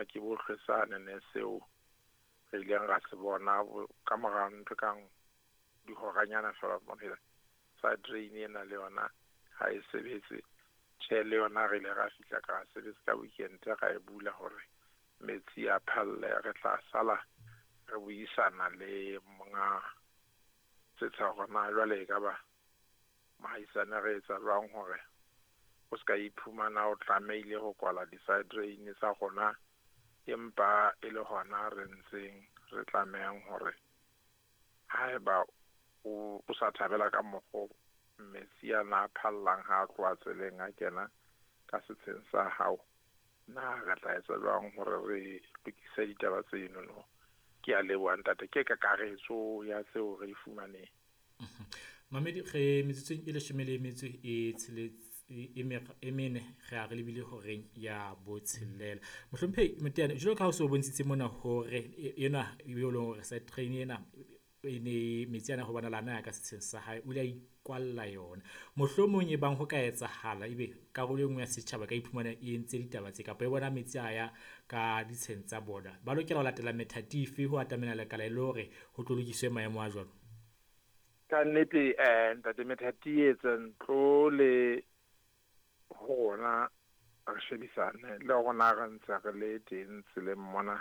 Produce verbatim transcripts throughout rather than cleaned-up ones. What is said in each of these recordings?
Ke bohle sane ne seo re ileng ra se bona ka mora ntho kang dihoranyana fela bona side drain ena le yona ha e sebetse. Tjhe, le yona re ile ra fihla ka sebetsa ka weekend ra e bula hore metsi a phalle. Re tla sala re buisana le monga setsha hore na jwale e ka ba mohaisane re etsa jwang hore o ska iphumana o tlamehile ho kwala di-side drain tsa rona, empa e le hona re ntseng re tlamehang hore haeba o o sa thabela ka mokgo metsi ana a phallang ha a tloha tseleng a kena ka setsheng sa hao, na re tla etsa jwang hore re lokise ditaba tseno no. Ke a leboha ntate, ke kakaretso ya tseo re di fumaneng. Mamedi, re metsotsong e leshome le metso e tsheletse e mene re a re lebile horeng ya botshelela. Mohlomphehi Moteane, jwalo ka ha o so bontshitse mona hore ena eo leng hore side train ena e ne metsi ana ho bona lana ya ka setsheng sa hae, o ile a ikwalla yona. Mohlomong e bang ho ka etsahala ebe karolo e nngwe ya setjhaba ka iphumana e entse ditaba tse kapa e bona metsi a ya ka ditsheng tsa bona, ba lokela ho latela methati efe ho atamela lekala e le hore ho tlo lokiswe maemo a jwalo? Ka nnete eh ntate, methati e etsa ntlo le rona re shebisane le rona re ntse re le teng tseleng mona,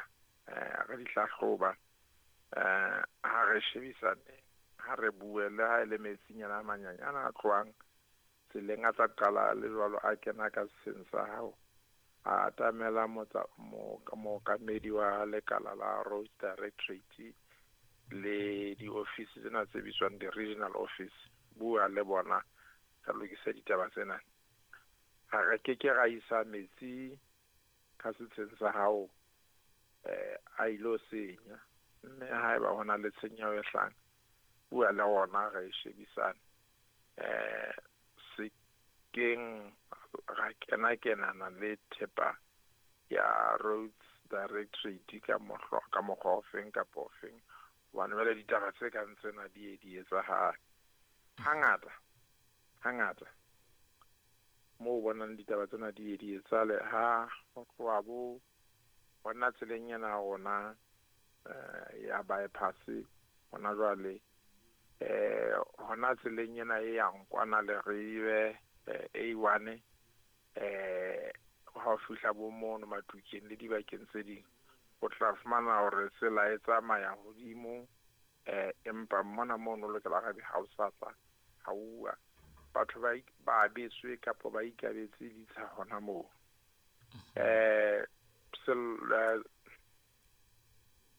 eh re di hlahloba, eh ha re shebisane, ha re bue le ha e le metsinyana a manyanyana a tlohang tseleng a tla qala le jwalo a kena ka setsheng sa hao, a atamela motsa mookamedi wa lekala la Roads Directorate le di-office tsena tse bitswang di-regional office, bua le bona re lokise ditaba tsena. Ha re ke ke ra isa metsi ka setsheng sa hao eh a ilo senya, mme haeba hona le tshenyeho e hlahang, bua le rona re shebisane. Eh se keng ra kena kenana le thepa ya Roads Directorate ka mohlo ka mokgwa ofeng kapa ofeng, hobane jwale ditaba tse kang tsena di di etsahala hangata hangata. Moo bonang ditaba tsena di di etsahale ha ho tloha bo hona tseleng ena ya rona eh ya bypass hona jwale, eh hona tseleng ena e yang kwana Leribe A one, eh ha o fihla bo mono Matukeng le dibakeng tse ding, o tla fumana hore tsela e tsamaya hodimo, eh empa mona mono o lokela hore ha o sa tla ha uwa batho ba ba abetswe kapa ba ikabetse ditsha hona moo. Eh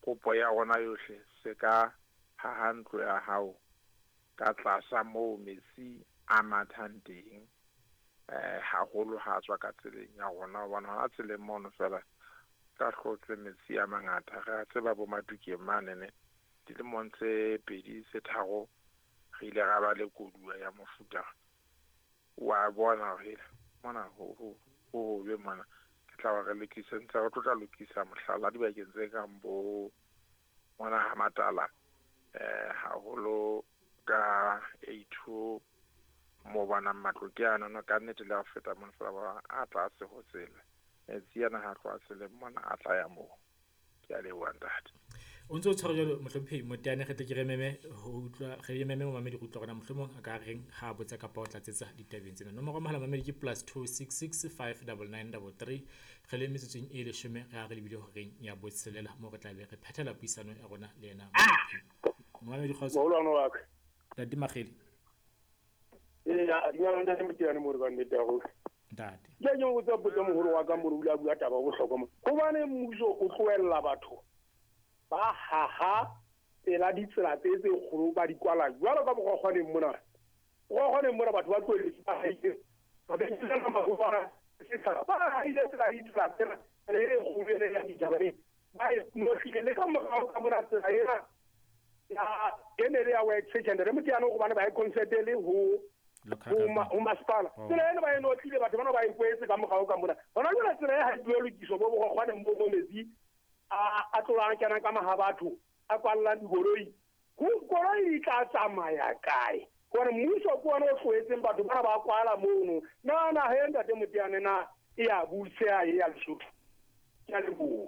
kopo ya rona yohle se ka haha ntlo ya hao ka tlasa moo metsi a mathang teng, eh haholo ha tswa ka tseleng ya rona, hobane ha tseleng mono fela ka hlotswe metsi a mangata. Re a tseba bo Matukeng mane ne dilemong tse pedi tse tharo re ile ra ba le koduwa ya mofuta wa bona hore mona ho ho ho be mona ke tla ba re lokise, ntse re tlo tla lokisa mohlala dibakeng tse kang bo mona ha Matala, eh haholo ka A two mo bonang matlo ke ana no ka nnete le ha feta mona fela ba a tlase ho tsela, metsi ana ha tloha tseleng mona a tla ya moo. Ke a leboha ntate. O ntse o tshwara jwalo mohlomphehi Moteane, re tle ke re meme ho utlwa re meme momamedi go utlwa hore na mohlomong a ka reng ha botsa kapa o tlatsetsa ditabeng tsena. Nomoro ya mohala mamedi ke plus two six six five double nine double three. Re le metsotsong e leshome re a re lebile horeng ya botshelela moo re tla be re phethela puisano ya rona le yena momamedi kgotso. Moholwane wa ka Ntate Makgele. Eya, dumela ntate Moteane mo re ka nnete ya rona. Ntate. Ke ke botsa potso moholo wa ka mo re o ile a bua taba ya bohlokwa mo. Hobane mmuso o tlohella batho ba haha pela ditsela tse tse kgolo ba di kwala jwalo ka Bokgokgwaneng mona. Bokgokgwaneng mona batho ba tlohelletse ba haile. Ba behisana mahobara setjhaba ba haile tsela ditsela tsena e kgolo ena ya ditaba e. Ba e nohlile le ka morao ka mona tsela ena ya e ne le ya work session re Moteane hobane ba e consentele ho ho masepala. Tsela ena ba e notlile batho bana ba e kwetse ka morao ka mona. Hona jwale tsela e ha e lokiswa bo Bokgokgwaneng bo metsi a a tlolang kena ka maha batho a kwallang dikoloi. Ho koloi di tla tsamaya kae? Hore mmuso ke ona o tlohetseng batho bana ba kwala mono. Na na he ntate Moteane na e ya buseha e ya Lesotho. Ke a leboha.